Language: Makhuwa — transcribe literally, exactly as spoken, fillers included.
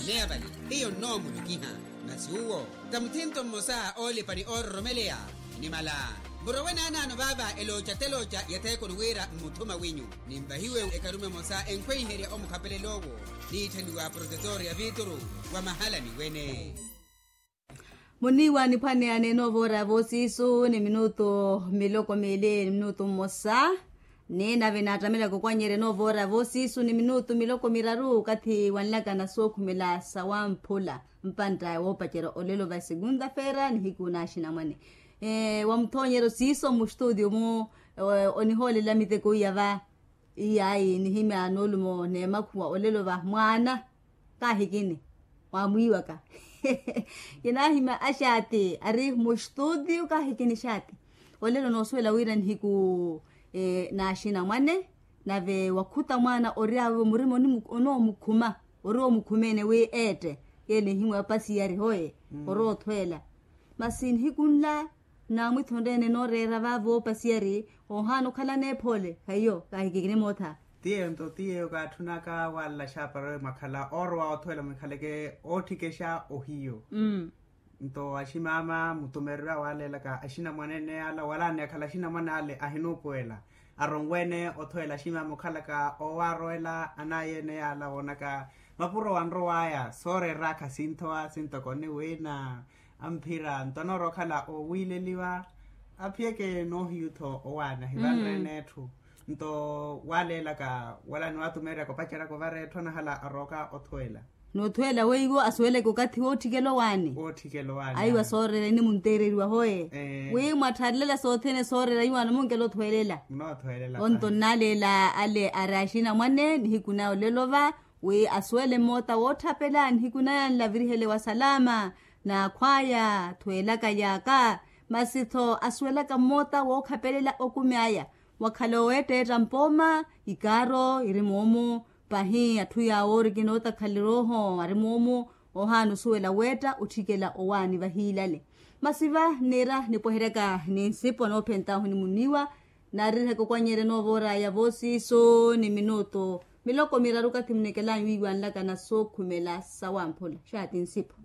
Neya vale, hiyo nnoomulukiha. Masi uwo ta muthinto mmosa oolipani oororomeleya. Nimala murowe naanaano vaava elooca telooca ya theekoni wira mmuthuma wenyu, ninvahiwe ekarume emosa enkhweiherya omukhapelel'owo, niitthaniwa protetor ya vituru wa mahalani wene. Muniiwa niphwaneya neene ovoora voosiisu ni minutu miloko miili ni minutu mmosa. Ni nave naattamelaka okwanyerya enoova oora voosiisu ni minutu miloko miraru okathi wanlaka na sookhumela sawamphula. Mpantta woopacerya olelo va esegunta feera nihiku na axinamwane wa muthoonyeryo siiso mustutio-mu. Onihoolela miteko iya va. Iyaayi nihimya noolumo n'emakhuwa olelo va mwaana. Kaahikini waamwiiwaka. Kinaahimya axaati ari mustutio kaahikini xaati. Olelo noosuwela wira nihiku naaxinamwane nave wakhuta mwaana ori awe murima onoomukhuma ori oomukhumeene wi eette. Yeele nihimwa opasiyari hoye ori othweela. Masi nihiku nla naamwithonreene nooreera vaavo opasiyari ohaana okhala neephoole haiyo kaahikikini mootha. Tiyeyo nto tiyeyo kaatthunaka walla xaapara mwakhala oorowa othweela mwikhaleke ootthikexa ohiyo. Nto aximaama mutumererya waalelaka axinamwane ene yaala wala aniyakhala axinamwane ale ahinuupuwela. Aronweene othweela aximaama okhalaka owaarowela anayi ene yaala woonaka mapuro wanrow'aya sooreera khasinthowa sintoko ni wiina. Amphira nto anoorowa okhala oowiileliwa aphiyeke noohiyu-tho owaani ahivanreene etthu. Nto waaleelaka wala niwatumeeryaka opaceryaka ovara etthu anahala arooka othweela. Noothweela weiwo asuweleke okathi wootthikela owaani. Aiwa sooreera inimunteereriwa hoye wi mwattharelela sothene sooreera iwaano munkela othweelela. Onto nnaaleela ale ari axinamwane nihiku na olelo va wi asuwele mmoota wootthapela nihiku naya nlavirihele wa salama. Naakhw'aya thweelaka yaaka masi-tho asuwelaka mmoota wookhapelela okumi aya. Wakhala oweetteetta mpooma ikaaro iri moomu. Pahi atthu yaawo ori kinootakhalirya oho ari moomu. Ohaana osuwela weetta otthikela owaani vahiilale. Masi va niira nipweheryaka ni nsipo noophent'ahu ni muniiwa. Naaririhaka okwanyerya enoova oora ya voosiisu ni minutu miloko miraru okathi munekel'anyu wiiwanlaka na sookhumela sawamphula xaati nsipo.